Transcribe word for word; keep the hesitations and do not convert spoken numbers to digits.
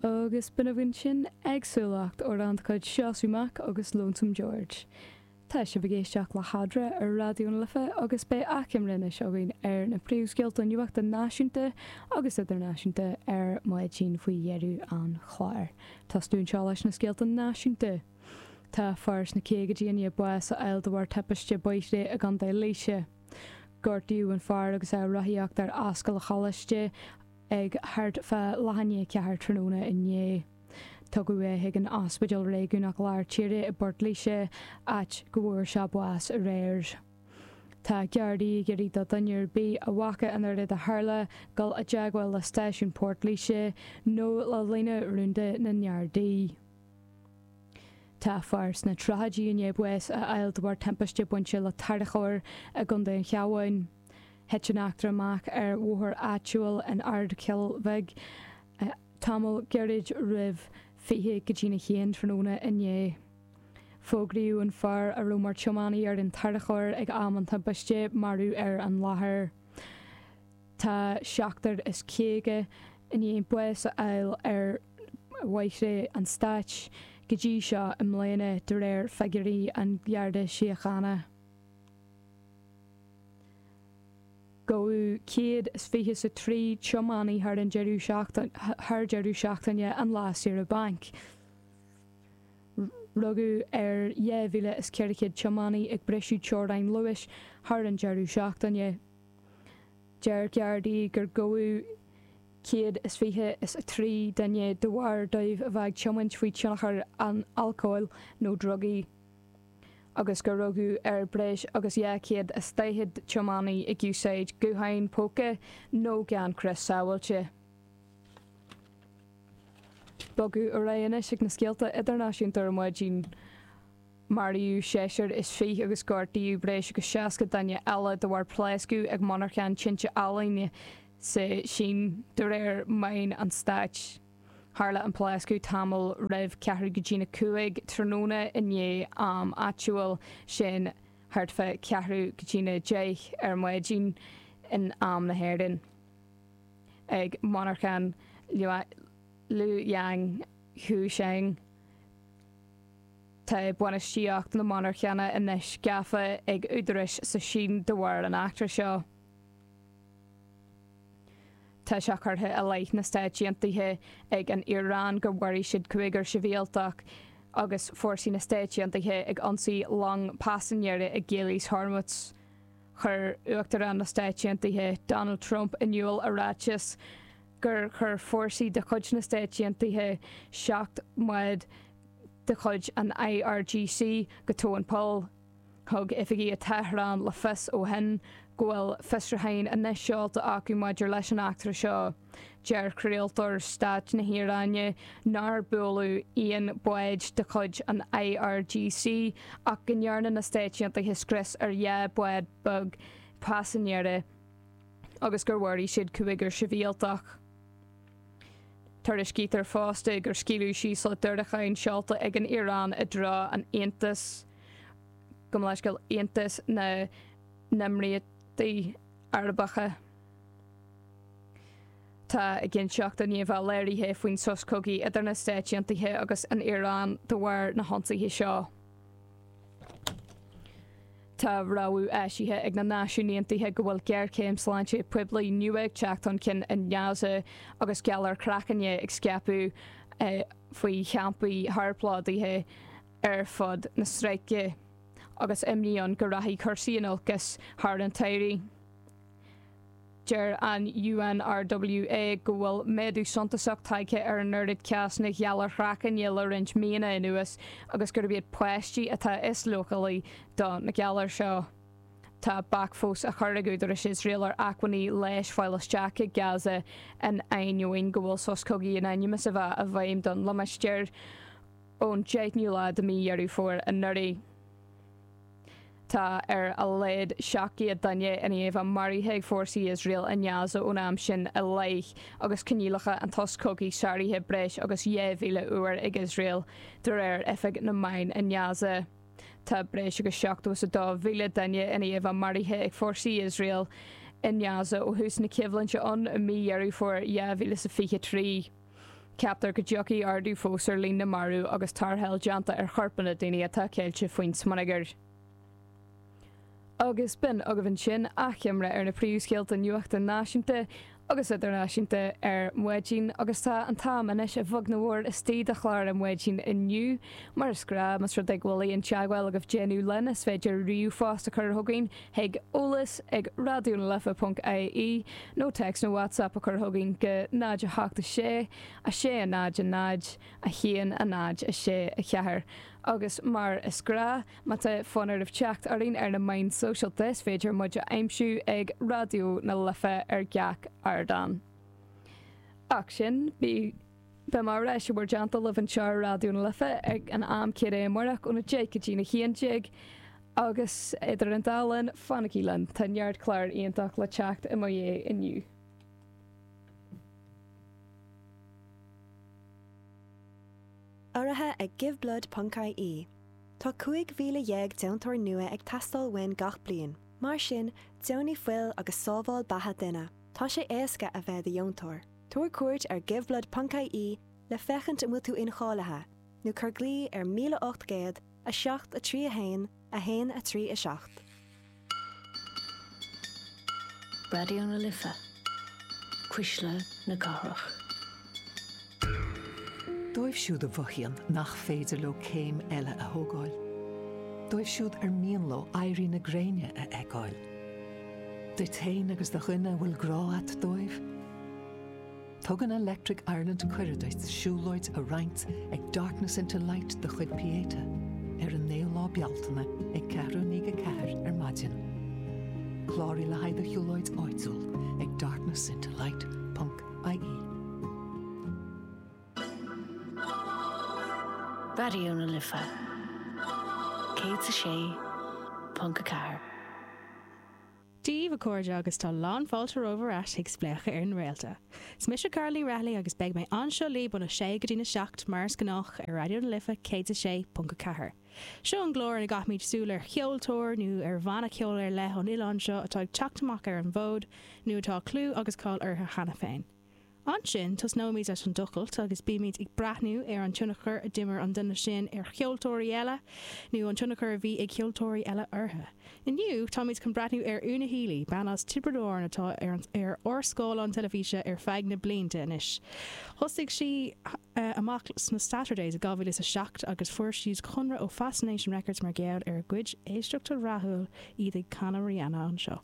Agus b'in againn sin Éagsúlacht, amhrán de chuid Seosamh Mac agus Lonesome George. Tá sibh ag éisteacht le hEadra ar Raidió na Life agus beidh achoimre anois againn ar na príomhscéalta nuachta náisiúnta agus idirnáisiúnta ar maidin faoi dheireadh an chláir. Tosnú anseo leis na scéalta náisiúnta. Tá fear sna caogaidí i ndiaidh bás a fháil de bharr timpiste bóithre i gContae Laoise. Gortaíodh an fear agus é ag rothaíocht ar Ascaill an Choláiste ag thart fá leath i ndiaidh a ceathair tráthnóna inné. Tugadh é chuig an Ospidéal Réigiúnach Lár Tíre i bPort Laoise, áit go bhfuair sé bás aréir. Tá Gardaí ag iarraidh do dhuine ar bith a bhfaca an rud a tharla dul i dteagmháil le stáisiún Port Laoise nó le líne rúnda na nGardaí. Tá fear sna tríochaidí i ndiaidh bás a fháil de bharr timpiste bainte le tarracóir i gContae an Chabháin. Thit an eachtra amach ar bhóthar áitiúil in Ard Chill Bhig tamall gairid roimh fiche go dtína haon tráthnóna inné. Fógraíodh an fear a raibh mar tiománaí ar an tarracóir ag am an timpiste marbh ar an láthair. Tá seachtar is caoga i ndiaidh bás a fháil ar bhóithre an stáit go dtí seo i mbliana de réir figiúirí an Gharda Síochána. Gabhadh céad is fiche is a trí tiománaí thar an deireadh thar deireadh seachtaine an lá saoire bainc. Rugadh ar dhá mhíle is ceithre chéad tiománaí ag briseadh teorainn luais thar an deireadh seachtaine. Deir Gardaí gur gabhadh céad is fiche is a trí duine de bharr dóibh a bheith ag tiomáint faoi thionchar an alcóil nó drugaí. agus gur rugadh ar breis agus dhá chéad is daichead tiománaí ag úsáid gutháin póca nó gan crios sábháilte. Bogadh ar aghaidh anois ag na scéalta idirnáisiúnta ar maidin. Maraíodh seisear is fiche agus gortaíodh breis agus seasca duine eile de bharr pléascadh ag monarchan tinte ealaíne sa tSín, de réir meáin an stáit. Tharla an pléascadh tamall roimh ceathrú go dtína cúig tráthnóna inné am áitiúil, sin thart fá ceathrú go dtína deich ar maidin in am na hÉireann, ag monarchan Luoyang Huisheng. Tá bainistíocht na monarchana anois gafa ag údaráis sa Sín de bharr an eachtra seo. Tá sé curtha i leith na Stáit Aontaithe ag an Iaráin gur mharaigh siad cúigear sibhialtach agus fórsaí na Stáit Aontaithe ag ionsaí long paisinéirí i gCaolas Hormuz. Chuir Uachtarán na Stáit Aontaithe, Donald Trump, in iúl i ráiteas gur chuir fórsaí de chuid na Stáit Aontaithe seacht mbád de chuid an IRGC go tóin poill. Thug oifigigh i Tehran le fios ó shin go bhfuil fiosrúcháin anois seolta acu maidir leis an eachtra seo. Deir craoltóir stáit na hIaráine nár buaileadh aon bhád de chuid an IRGC ach go ndearna na Stáit Aontaithe scrios ar dhá bhád beag paisinéirí agus gur mharaigh siad cúigear sibhialtach. Tuairiscítear fosta gur scaoileadh síosla diúracáin seolta ag an Iaráin i dtreo an Aontais, gabh mo leithscéal, Aontas na nÉimíríochtaí Arabacha. Tá éiginnteacht i ndiaidh a bheith léirithe faoin sos cogaidh idir na Stáit Aontaithe agus an Iaráin de bharr na hionsaithe seo. Tá rabhadh eisithe ag na Náisiúin Aontaithe go bhfuil géarchéim sláinte poiblí nua ag teacht chun cinn i nGaza agus galar craicne ag scaipeadh faoi champaí shárphlódaithe ar fud na Stráice agus imní ann go rachaidh cúrsaí in olcas thar an tsamhradh. Deir an UNRWA go bhfuil méadú suntasach tagtha ar an oiread cásanna ghalar chraicne le roinnt míonna anuas agus gurb iad páistí atá is leochailí do na galair seo. Tá bac fós á chur ag údaráis Iosrael ar acmhainní leighis fáil isteach i Gaza in ainneoin go bhfuil sos cogaidh in ainm is a bheith i bhfeidhm don limistéar ón deichniú lá de mhí Dheireadh Fómhair anuraidh. Tá ar a laghad seacht gcéad duine i ndiaidh a bheith maraithe ag fórsaí Iosrael i nGaza ón am sin i leith, agus coinníollacha an tsos cogaidh sáraithe breis agus dhá mhíle uair ag Iosrael, de réir Oifig na Meán i nGaza. Tá breis agus seachtó is a dó mhíle duine i ndiaidh a bheith maraithe ag fórsaí Iosrael i nGaza ó thús na coimhlinte ann i mí Dheireadh Fómhair dhá mhíle is a fiche trí. Ceaptar go dtiocfaidh ardú fós ar líon na marbh agus tarrtháil déanta ar chorpanna daoine atá ceilte faoin smionagar. Agus b'in agaibh ansin achoimre ar na príomhscéalta nuachta náisiúnta agus idirnáisiúnta ar maidin agus tá an t-am anois a bheag nó a mhór istigh do chlár ar maidin inniu mar is gnách más rud é go bhfuil aon teagmháil agaibh déanamh linn is féidir ríomhphost a chur chugainn chuig eolas ag radionalife.ie nó text nó WhatsApp a chur chugainn go náid a hocht a sé a sé a náid a náid a haon a náid a sé a ceathair. Agus mar is gnách má tá fonn oraibh teacht orainn ar na meáin sóisialta is féidir muid a aimsiú ag Raidió na Life ar gach ardán. Ach sin bí Beidh mé ar ais i bhur dteannta libh anseo ar Raidió na Life ag an am céanna amárach óna deich go dtí a haon déag agus idir an dá linn fanaigí linn tá neart clár iontach le teacht i mo dhiaidh inniu. Urraithe ag Giveblood ponc ie. Tá cúig mhíle dhéag deontóir nua ag teastáil uainn gach bliain. Mar sin, deonaigh fuil agus sábháil beatha duine. Tá sé éasca a bheith i do dheontóir. Tabhair cuairt ar Giveblood ponc ie le féachaint an bhfuil tú incháilithe, nó cuir glao ar míle ocht gcéad, a seacht a trí a haon, a haon a trí a seacht. Raidió na Life, Cuisle na Cathrach. Dóibh siúd a mhothaíonn nach féidir leo céim eile a thógáil. Dóibh siúd ar mian leo éirí na gréine a fheiceáil. Duit féin agus do dhuine a bhfuil grá a't dóibh. Tugann Electric Ireland cuireadh duit siúlóid a roinnt ag Darkness into Light de chuid Pieta ar an naoú lá Bealtaine ag ceathrú i ndiaidh a ceathair ar maidin. Cláraigh le haghaidh do shiúlóid áitiúil ag darknessintolight ponc ie. Raidió na Life céad a sé ponc a ceathair. Dia daoibh a chairde agus tá lán fáilte romhaibh ar ais chuig Spléachadh ar na Réalta. Is mise Carla Ní Raghallaigh agus beidh mé anseo libh óna sé go dtína seacht mar is gnách ar Raidió na Life céad a sé ponc a ceathair. Seo an clár ina gcaithimid súil ar cheoltóir nó ar bhanna ceoil ar leith ón oileán seo atá ag teacht amach ar an bhfód nó atá clú agus cáil orthu cheana féin. Ansin, tosnóimid leis an tochailt agus bímid ag breathnú ar an tionchar a d'imir an duine sin ar cheoltóirí eile, nó an tionchar a bhí ag ceoltóirí eile orthu. Inniu, táimid chun breathnú ar Una Healy, bean as Tiobraid Árann atá ar ar ár scáileán teilifíse ar feadh na blianta anois. Thosaigh sí amach sna Saturdays i dhá mhíle is a seacht agus fuair siad conradh ó Fascination Records mar gheall ar a gcuid éisteachta rathúil, iad ag canadh Rihanna anseo.